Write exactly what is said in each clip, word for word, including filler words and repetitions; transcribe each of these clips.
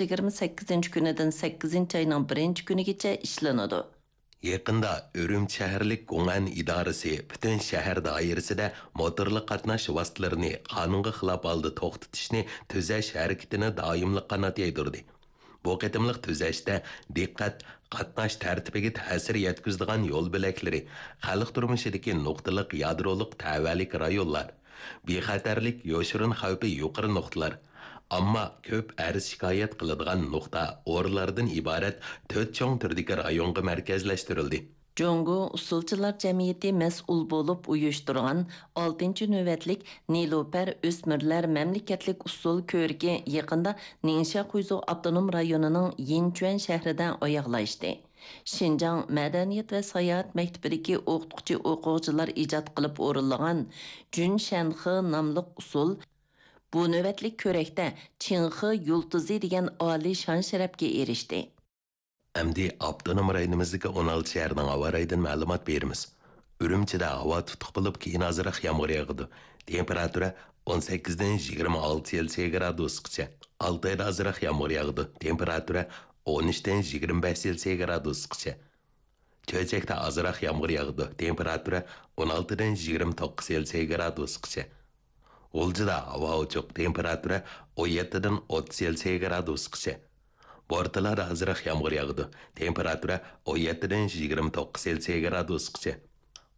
يىگىرمە سەككىزىنچى كۈنىدىن سەككىزىنچى ئاينىڭ بىرىنچى كۈنىگىچە ئىشلىنىدۇ. يېقىندا ئۈرۈمچى شەھەرلىك گوڭئەن ئىدارىسى پۈتۈن شەھەر دائىرىسىدە موتورلۇق قاتناش ۋاسىتىلىرىنى قانۇنغا خىلاپ ھالدا توختىتىشنى تۈزەش ھەرىكىتىنى دائىملىق قانات يايدۇردى. بۇ قېتىملىق تۈزەشتە دىققەت قاتناش تەرتىپىگە تەسىر يەتكۈزىدىغان يول بۆلەكلىرى، خەلق تۇرمۇشىدىكى نۇقتىلىق يادرولۇق تەۋەلىك رايونلار، بىخەتەرلىك يوشۇرۇن خەۋپى يۇقىرى نۇقتىلار، ئامما كۆپ ئەرز-شىكايەت قىلىدىغان نۇقتا ئورۇنلاردىن ئىبارەت تۆت چوڭ تۈردىكى رايونغا مەركەزلەشتۈرۈلدى. جۇڭگو ئۇسسۇلچىلار جەمئىيىتى مەسئۇل بولۇپ ئۇيۇشتۇرغان ئالتىنچى نۆۋەتلىك نېلۇپەر ئۆسمۈرلەر مەملىكەتلىك ئۇسسۇل كۆرىكى يېقىندا نىڭشيا خۇيزۇ ئاپتونوم رايونىنىڭ يىنچۈەن شەھىرىدە ئاياغلاشتى. شىنجاڭ مەدەنىيەت ۋە ساياھەت مەكتىپىدىكى ئوقۇتقۇچى ئوقۇغۇچىلار ئىجاد قىلىپ ئورۇنلىغان جۈن شەنخې ناملىق ئۇسسۇل بۇ نۆۋەتلىك كۆرەكتە چىڭخې يۇلتۇزى دېگەن ئالىي شان-شەرەپكە ئېرىشتى. ئەمدى ئاپتونوم رايونىمىزدىكى ئون ئالتە شەھەرنىڭ ھاۋا رايىدىن مەلۇمات بېرىمىز. ئۈرۈمچىدە ھاۋا تۇتۇق بولۇپ، كېيىن ئازراق يامغۇر ياغىدۇ. تېمپېراتۇرا ئون سەككىزدىن يىگىرمە ئالتە سېلسىيە گرادۇسقىچە. ئالتايدا ئازراق يامغۇر ياغىدۇ. تېمپېراتۇرا ئون ئۈچتىن يىگىرمە بەش سېلسىيە گرادۇسقىچە. چۆچەكتە ئازراق يامغۇر ياغىدۇ. تېمپېراتۇرا ئون ئالتىدىن يىگىرمە توققۇز سېلسىيە گرادۇسقىچە. غۇلجىدا ھاۋا ئوچۇق، تېمپېراتۇرا ئون يەتتىدىن ئوتتۇز سېلسىيە گرادۇسقىچە. بورتالادا ئازراق يامغۇر ياغىدۇ، تېمپېراتۇرا ئون يەتتىدىن يىگىرمە توققۇز سېلسىيە گرادۇسقىچە.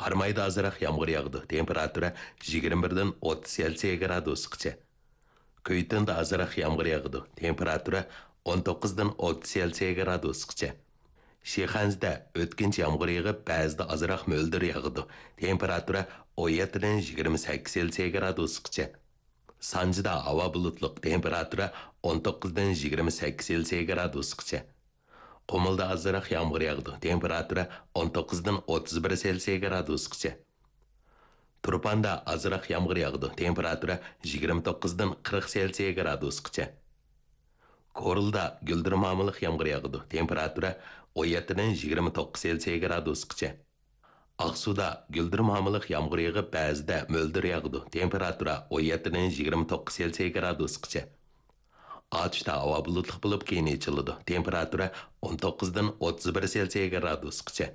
قارامايدا ئازراق يامغۇر ياغىدۇ، تېمپېراتۇرا يىگىرمە بىردىن ئوتتۇز سېلسىيە گرادۇسقىچە. كۈيتۇندا ئازراق يامغۇر ياغىدۇ، تېمپېراتۇرا ئون توققۇزدىن ئوتتۇز سېلسىيە گرادۇسقىچە. شىخەنزىدە ئۆتكۈنچى يامغۇر يېغىپ، بەزىدە ئازراق مۆلدۈر ياغىدۇ، تېمپېراتۇرا ئون يەتتىدىن يىگىرمە سەككىز سېلسىيە گرادۇسقىچە. سانجىدا ھاۋا بۇلۇتلۇق، تېمپېراتۇرا ئون توققۇزدىن يىگىرمە سەككىز سېلسىيە گرادۇسقىچە. قۇمۇلدا ئازراق يامغۇر ياغىدۇ، تېمپېراتۇرا ئون توققۇزدىن ئوتتۇز بىر سېلسىيە گرادۇسقىچە. تۇرپاندا ئازراق يامغۇر ياغىدۇ، تېمپېراتۇرا يىگىرمە توققۇزدىن قىرىق سېلسىيە گرادۇسقىچە. كورلىدا گۈلدۈرمامىلىق يامغۇر ياغىدۇ، تېمپېراتۇرا ئون يەتتىدىن يىگىرمە توققۇز سېلسىيە گرادۇسقىچە. ئاقسۇدا گۈلدۈرمامىلىق يامغۇر يېغىپ، بەزىدە مۆلدۈر ياغىدۇ، تېمپېراتۇرا ئون يەتتىدىن يىگىرمە توققۇز سېلسىيە گرادۇسقىچە. ئاتۇشتا ھاۋا بۇلۇتلۇق بولۇپ، كېيىن ئېچىلىدۇ، تېمپېراتۇرا ئون توققۇزدىن ئوتتۇز بىر سېلسىيە گرادۇسقىچە.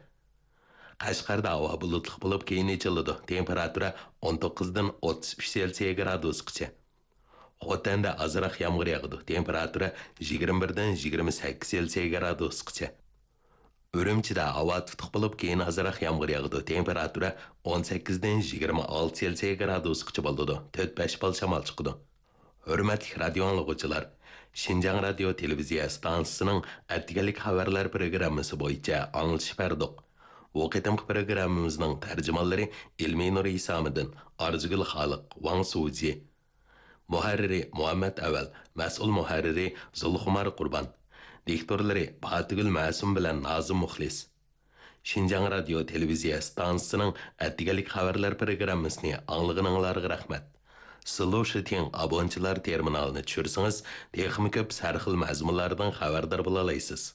قەشقەردە ھاۋا بۇلۇتلۇق بولۇپ، كېيىن ئېچىلىدۇ، تېمپېراتۇرا ئون توققۇزدىن ئوتتۇز ئۈچ سېلسىيە گرادۇسقىچە. خوتەندە ئازراق يامغۇر ياغىدۇ، تېمپېراتۇرا يىگىرمە بىردىن يىگىرمە سەككىز سېلسىيە گرادۇسقىچە. ئۈرۈمچىدە ھاۋا تۇتۇق بولۇپ، كېيىن ئازراق يامغۇر ياغىدۇ، تېمپېراتۇرا ئون سەككىزدىن يىگىرمە ئالتە سېلسىيە گرادۇسقىچە بولىدۇ، تۆت بەش بال شامال چىقىدۇ. ھۆرمەتلىك رادىيو ئاڭلىغۇچىلار، شىنجاڭ رادىيو تېلېۋىزىيە ئىستانسىسىنىڭ ئەتىگەنلىك خەۋەرلەر پروگراممىسى بويىچە ئاڭلىتىش بەردۇق. بۇ قېتىمقى پروگراممىمىزنىڭ تەرجىمانلىرى ئىلمىنۇر ھېسامىدىن، ئارزۇگۈل خالىق، ۋاڭ سۇجى. مۇھەررىرى مۇھەممەت ئەۋەل، مەسئۇل مۇھەررىرى زۇلخۇمار قۇربان، دىكتورلىرى باتىگۈل مەسۇم بىلەن نازىم مۇخلىس. شىنجاڭ رادىيو تېلېۋىزىيە ئىستانسىسىنىڭ ئەتىگەنلىك خەۋەرلەر پروگراممىسىنى ئاڭلىغىنىڭلارغا رەھمەت. سلۇشىتىڭ ئابونچىلار تېرمىنالىنى چۈشۈرسىڭىز، تېخىمۇ كۆپ سەرخىل مەزمۇنلاردىن خەۋەردار بولالايسىز.